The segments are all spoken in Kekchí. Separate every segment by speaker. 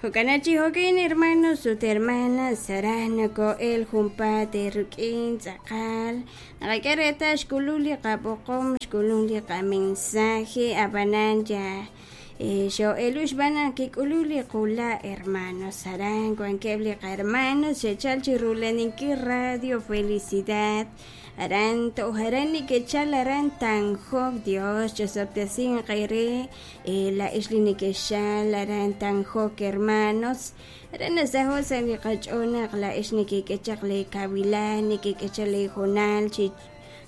Speaker 1: Jo'kan chi jo'kan, hermanos ut hermanas, aran noko'el junpaat eerik'in tz'aqal naqak'e reetal xk'ulun li qab'oqom, xk'ulun li qamensaje, ab'anan ya xoo'elu xb'aan naq kik'ulun li qula', hermanos. Aran wankeb' li qahermanos xe'chal chi rula'aninkil Radio Felicidad, aran toj aran neke'chal aran Tanjok. Dios chosob'tesinq eere laa'ex li nekexchal aran Tanjok, hermanos. Aran nasaho' sa' li qach'ool naq laa'ex nekek'e chaq lee kawilal, nekek'e chaq lee hoonal chi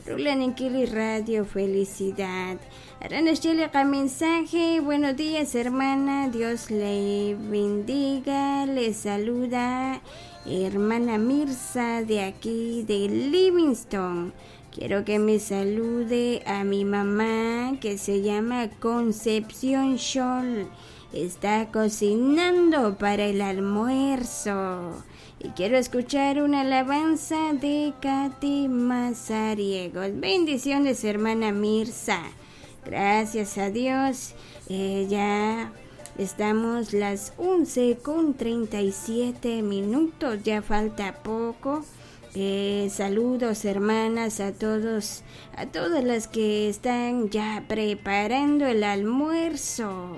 Speaker 1: rula'aninkil li Radio Felicidad. Aran naxye li qamensaje: Buenos días, hermana, Dios le bendiga, le saluda hermana Mirza de aquí de Livingston. Quiero que me salude a mi mamá, que se llama Concepción Scholl. Está cocinando para el almuerzo. Y quiero escuchar una alabanza de Katy Mazariegos. Bendiciones, hermana Mirza. Gracias a Dios. Ya estamos las 11:37 minutos. Ya falta poco. Saludos, hermanas, a todos, a todas las que están ya preparando el almuerzo.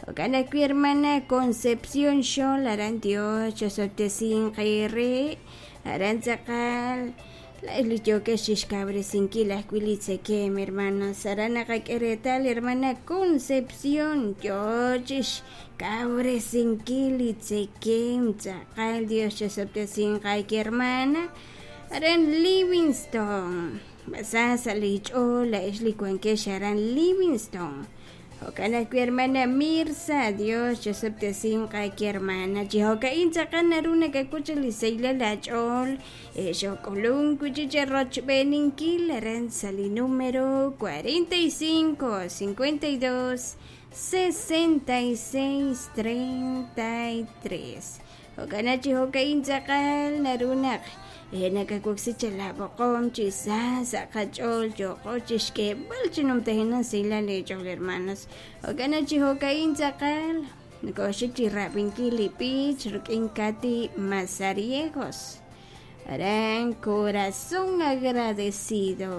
Speaker 1: Jo'kan ajwi' hermana Concepción Xol, aran Dios chosob'tesinq eere aran tz'aqal laa'ex li yookex chixkawresinkil ajwi' li tzekemq, hermanos. Aran naqak'e reetal hermana Concepción yoo chixkawresinkil li tzekemq tz'aqal. Dios chosob'tesinq ayki, hermana, aran Livingston. B'asa sa' li ch'ool laa'ex li wankex aran Livingston. Jo'kan ajwi' hermana Mirza, Dios chosob'tesinq ayki, hermana. Chi jo'ka'in tz'aqal naru nakak'ul chaq li sahilal aach'ool. Xok'ulunk wi' chi rochb'eeninkil aran sa' li número 45 52 66 33. Jo'kan chi jo'ka'in tz'aqal naru naq nakawoksi chaq laab'oqom chi sa sa' qach'ool yooqo chixk'eeb'al chi numtajenaq sahilal eech'ool, hermanos. Jo'kan chi jo'ka'in tz'aqal nokoxik chi rab'inkil li b'ich rik'in Katy Mazariegos, aran Corazón Agradecido.